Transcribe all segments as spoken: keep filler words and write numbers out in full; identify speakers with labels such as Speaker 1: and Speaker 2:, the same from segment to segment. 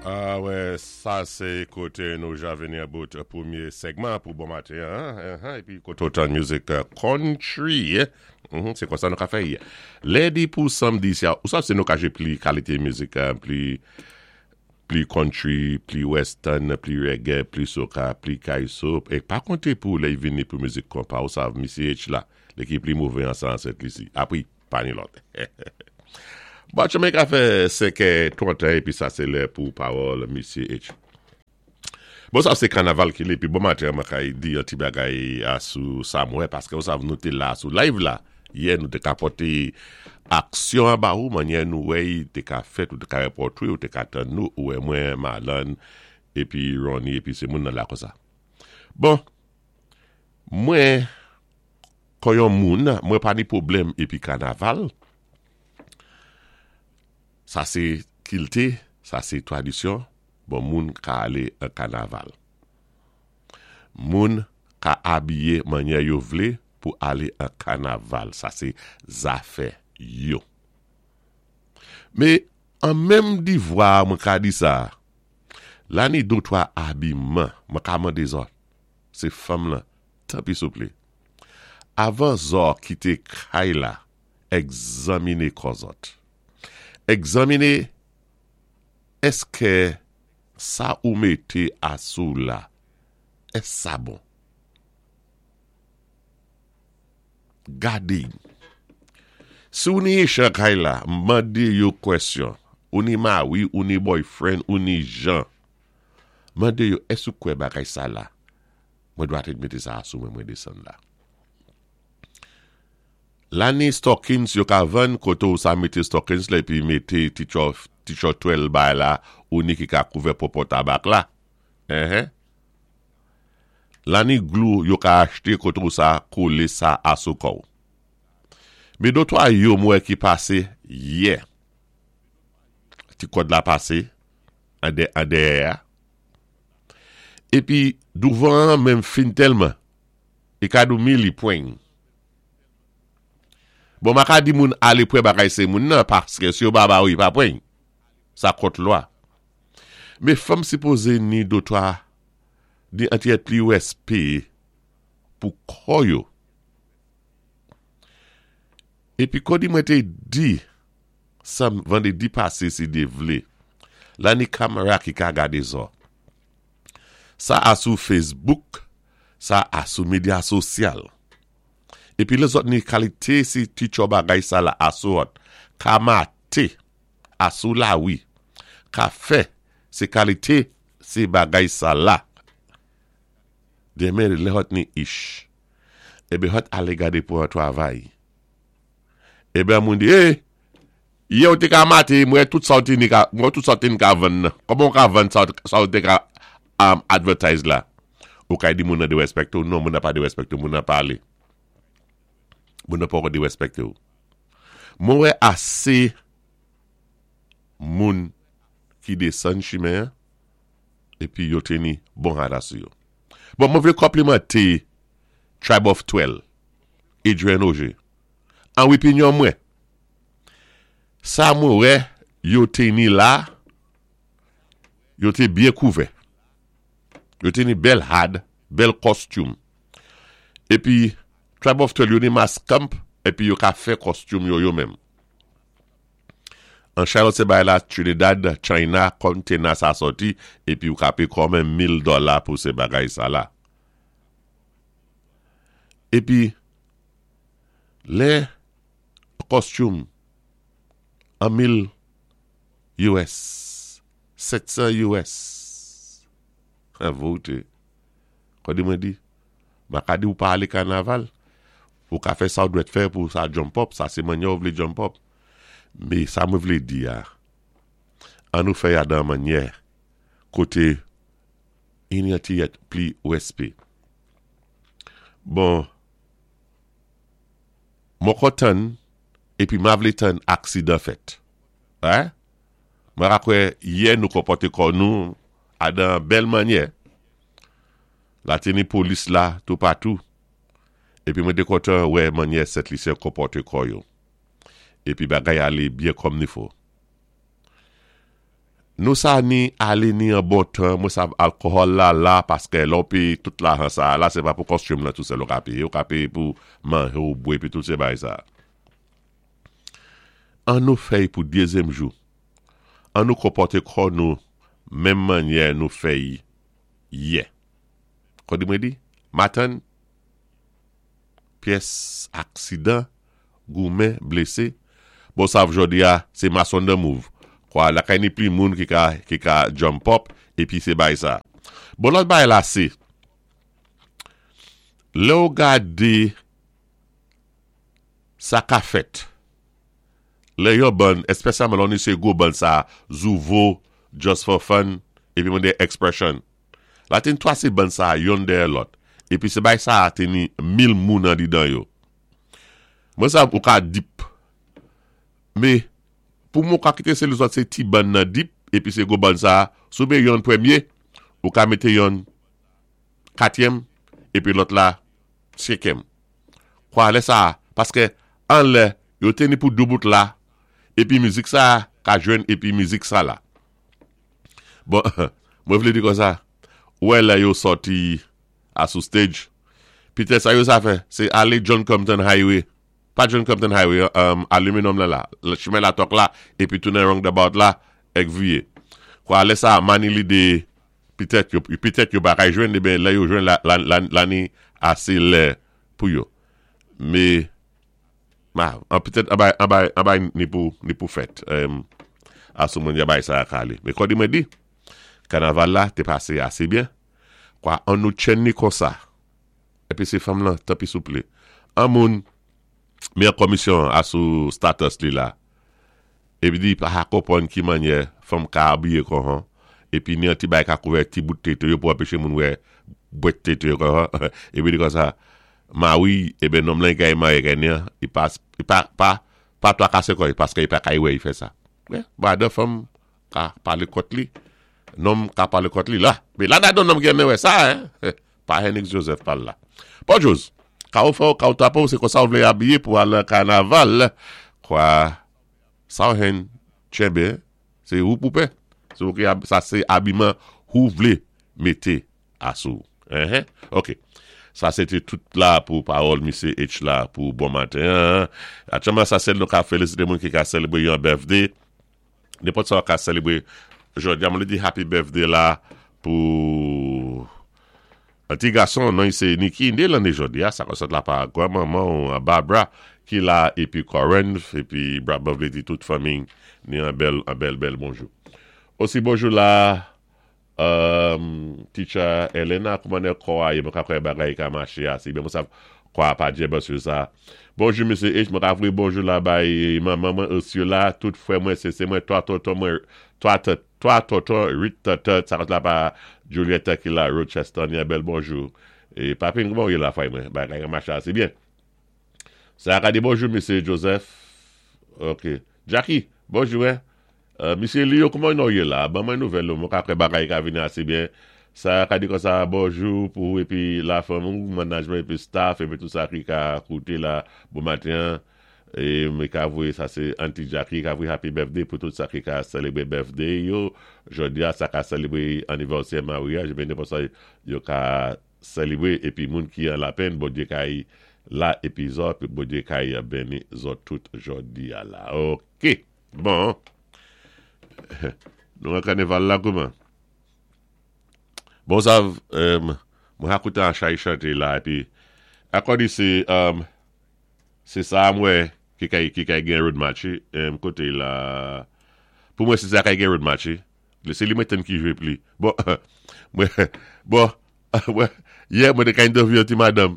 Speaker 1: Ah wè, sa sé koté nou ja vini about pwémyé segman pou bon maten, hein, épi koté otan music country, mm sé konsa nou ka fè. Lédi pou samdi sa, ou sa sé nou ka jwé pli kalité mizik, pli pli country, pli western, pli reggae, pli soca, pli kaiso, é pa konté pou lè vini pou mizik konpa, ou sav, Missy H la, lé ki pli mové ansan Sent Lisi. Apwi, pa ni lòt. Bon, chemen ka fè senkè twant épi sa sé lè pou pawòl Missy H. Bon, sa sé kanaval ki lé, épi bon maten, mwen kay di yon ti bagay asou sa mwen, paské ou sav nou té la sou live la, yè nou té ka pòté aksyon an ba ou, mannyè nou wè té ka fèt, ou té ka repòtwe, ou té ka tann nou, ou wè mwen, Marlon, épi Ronnie, épi sé moun nan la konsa. Bon, mwen, kon yon moun, mwen pa ni pwoblèm épi kanaval, sa sé kilti, sa sé tradisyon, bon moun ka alé an kanaval. Moun ka abiyé mannyè yo vlé pou alé an kanaval. Sa sé zafè yo. Mé an menm divwa mwen ka di sa, la ni dé twa abiman, mwen ka mandé zòt, sé fanm lan, tanpi souplé. Avan zòt kité kay la, egzaminé kò zòt. Egzaminé èské sa ou mété asou la, èské sa bon? Gadé. Si ou ni chan kay la, mandé yo kwèsyon, ou ni mari, ou ni boyfriend, ou ni jan, mandé yo, èské ou kwè bagay sa la? Mwen dwa té mété sa asou mwen mwen désann la. La ni stockings yo ka vann koté ou sa mété stockings la épi mété ti chò twèl bay la ou ni ki ka kouvè pòpò tabak la. Eh La ni glue yo ka achté koté ou sa kolé sa asou kò. Mé dé twa yo mwen ki pasé yè. Ti kòd la pasé an dè an dèyè. Épi douvan menm fen tèlman. É ka dou mili pwen. Bon, ma ka di moun alé pwan bagay sé moun nan, paské si yo ba ba ou, yi pa pwen. Sa kont lwa. Mé fanm sipozé ni dé twa, di an ti pli wèspé pou kò yo. Épi kòdi mwen té di, sa vandédi pasé si Dye vlé, la ni kamera ki ka gadé zòt. Sa asou Facebook, sa asou medya sosyal. Épi lèzòt ni kalité si ti chò bagay sa la asou ot, ka maté asou la wi, ka fè sé kalité sé bagay sa la. Denmen lè hot ni ish. Ébé hot alé gadé pou an twavay. Ébé moun di, eh, yè ou té ka maté, mwen tout sa ou té ni ka, mwen tout sa ou té ni ka vann nan. Kòman ou ka vann sa sa ou té ka um, advertise la? Ou ka di moun nan dérespèkté ou? Non, moun nan pa dérespèkté ou, moun nan pa alé. Moun nan pa dérespèkté ou. Mwen wè asé moun ki désann chimen, épi yo té ni bon rad asou yo. Bon, mwen vlé konplimanté Tribe of Twelve, Adrian Auger. An opinyon mwen. Sa mwen wè, yo té ni la, yo té byen kouvè. Yo té ni bèl had, bèl costume. Épi, Tribe of Twelve, yo ni mas camp, épi yo ka fè costume yo yo menm. An Charlotte sé bay la Trinidad, China, container sa sòti, épi yo ka péyé kòmèm mil dola pou sé bagay sa la. Épi, lè costume an mil U S, sèt san U S, an vote. Kòdi mwen di, ma ka di ou pa alé kanaval, ou ka fè sa ou dwèt fè pou sa jump up, sa sé mannyè ou vlé jump up. Mé sa mwen vlé di ya, an nou fè ya dan mannyè, koté yon ti yèt pli wèspé. Bon, mwen kontan, épi ma vlé tann aksidan fèt. Hein? Mwen ka kwè yè nou konpòté kò nou a dan bèl mannyè. La té ni polis la toupatou. Épi mwen té kontan wè mannyè Sent Lisyen konpòté kò yo. Épi bagay alé byen kòm ni fò. Nou sa ni alé ni an bon tan, mwen sav alkòhòl la la, paské lè ou péyé tout lajan sa, la sé pa pou costume la tou sèl ou ka péyé, ou ka péyé pou manjé ou bwè pi tout sé bagay sa. An nou fè'y pou dézyèm jou. An nou konpòté kò nou menm mannyè nou fè'y yè. Kon di mwen di? Maten, pyès aksidan, goumen, blésé. Bon sav jòdi a, sé mass on the move. Kwa lakay ni pli moun ki ka, ki ka jump up, épi sé bay sa. Bon lòt bay la sé, lè ou gadé sa ka fèt, lè yo ban, espesyalman lò ni sé gwo bann sa, Zouvo, Just for Fun, épi mwen de Expression. La ten twa sé bann sa, yonn dèyè lòt. Épi sé bay sa té ni mil moun an didan yo. Mwen sa ou ka deep. Mé, pou mwen ka kité sé lòt sé ti bann nan deep, épi sé gwo bann sa, sou mé yonn pwémyé, ou ka mété yonn katyèm, épi lòt la senkyèm. Kwa lè sa, paské an lè, yo té ni pou dé bout la, épi mizik sa ka jwenn épi mizik sa la. Bon, mwen vlé di kon sa, wè lè yo sòti a sou stage, pitèt sa yo sa fè, sé alé John Compton Highway, pa John Compton Highway, um, aluminum la la, chimen la tok la, épi tounen roundabout la, èk viyé. Kwa lè sa, mani li dé, pitèt yo, pitèt yo pa kay jwenn, eh ben lè yo jwenn la, la, la, la ni asé lè pou yo. Mé, ma, an pitèt, an bay, an bay, an bay ni pou, ni pou fèt. Um, asou mwen ya bay sa a kale. Mé kon di mwen di, kanaval la té pasé asé byen. Kwa an nou tchenn ni kon sa. Épi sé fanm lan, tanpi souplé. An moun, mé an komisyon asou status li la. Épi di, pa ha konpwann ki mannyè fanm ka abiyé kon han. Épi ni an ti bay ka kouvè ti bout tété yo pou anpéché moun wè bwèt tété yo kon han. Épi di kon sa, ma wi, eh ben nonm lan kay maryé kay ni an, i pa, i pa, pa, pa toa kasé kò'y, paské i pa kay wè i fè sa. Wè, ba de fanm ka palé kont li, nonm ka palé kont li la. Mé la nan don nonm ki renmen wè sa, hein. Pa Henix Joseph pal la. Bon Jose, ka ou fè ou, ka ou tapo, sé kon sa ou vlé abiyé pou al nan kanaval, kwa sa ou hen tchenbé, sé ou pou pè. Se ou ki ab, sa sé abiman ou vlé mété asou. Hein, hein? Ok. Sa sé té tout la pou pawòl Misye H la pou bon maten. Aktyèlman sa sé nou ka félisité moun ki ka sélébwé yon birthday. Nenpòt sa ka sélébwé jòdi a, mwen di happy birthday la pou un ti gason, non, sé Nicky, né lanné jòdi a, sa kon sot la pa granmanman Barbara ki la épi Corinne épi Barbara vlé di tout fanmi ni an bèl an bèl bèl bonjou. Osi bonjou la um, teacher Elena, kouman é kò a yé, mwen ka kwè bagay ka maché asé, ben mwen sav kwa pa djé sur sa. Bonjou Misye H, mwen ka vwé bonjou la bay manman mwen Ursula, tout fwè mwen sé sé mwen, twa tonton mwen, twa twa tonton, uit tatat, sa la pa Julietta ki la Rochester, ni un bèl bonjou. É papin, kouman yé la fway mwen, bagay ka maché asé byen. Sa ka di bonjou Misye Joseph. Ok. Jackie, bonjou hein. Euh, Misye Leo, kouman nou yé la? Ban mwen nouvèl, mwen ka kwè bagay ka vini asé byen. Sa ka di kon sa, bonjou pou épi la fanmi, management épi staff, épi tout sa ki ka kouté la, bon maten. É mwen ka vwé, sa sé Auntie Jackie, ka vwé happy birthday pou tout sa ki ka sélébwé birthday yo. Jòdi a, sa ka sélébwé anivèsè maryaj, ben nenpòt sa yo ka sélébwé, épi moun ki an lapenn, Bondyé kay la épi zòt, Bondyé kay béni zòt tout jòdi a la. Ok, bon. Nou an kanaval la kouman? Bon sa, um, mwen ha kouté an chay chanté la, épi, akò di sé, um, sé sa mwen ki kay, ki kay gen road march, um, koté la, pou mwen sé sa kay gen road march, sé li mwen ten ki jwé pli. Bon, mwen, bon, mwen, yè mwen té ka interview yon ti madame,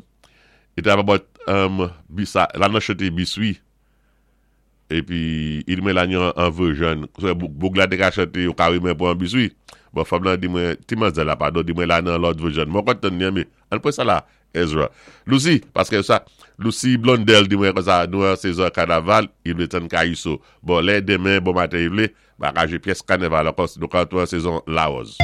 Speaker 1: i tap about, um, bisa, la nan chanté biswi, épi, i di mwen la yon an version, so, boug la té ka chanté, yo ka rimen pou an biswi. Bon, fanm lan di mwen, ti manzèl la, padon, di mwen la nan lòt version. Mwen kontan ni, mé, an pwen sa la, Ezra. Lucy, paské sa, Lucy Blondel di mwen kon sa, nou an sezon kanaval, i vlé tann Kayiso. Bon, lè demen, bon maten, i vlé, ba ka jwé pyès kanaval ankò, nou ka an sezon lawòz.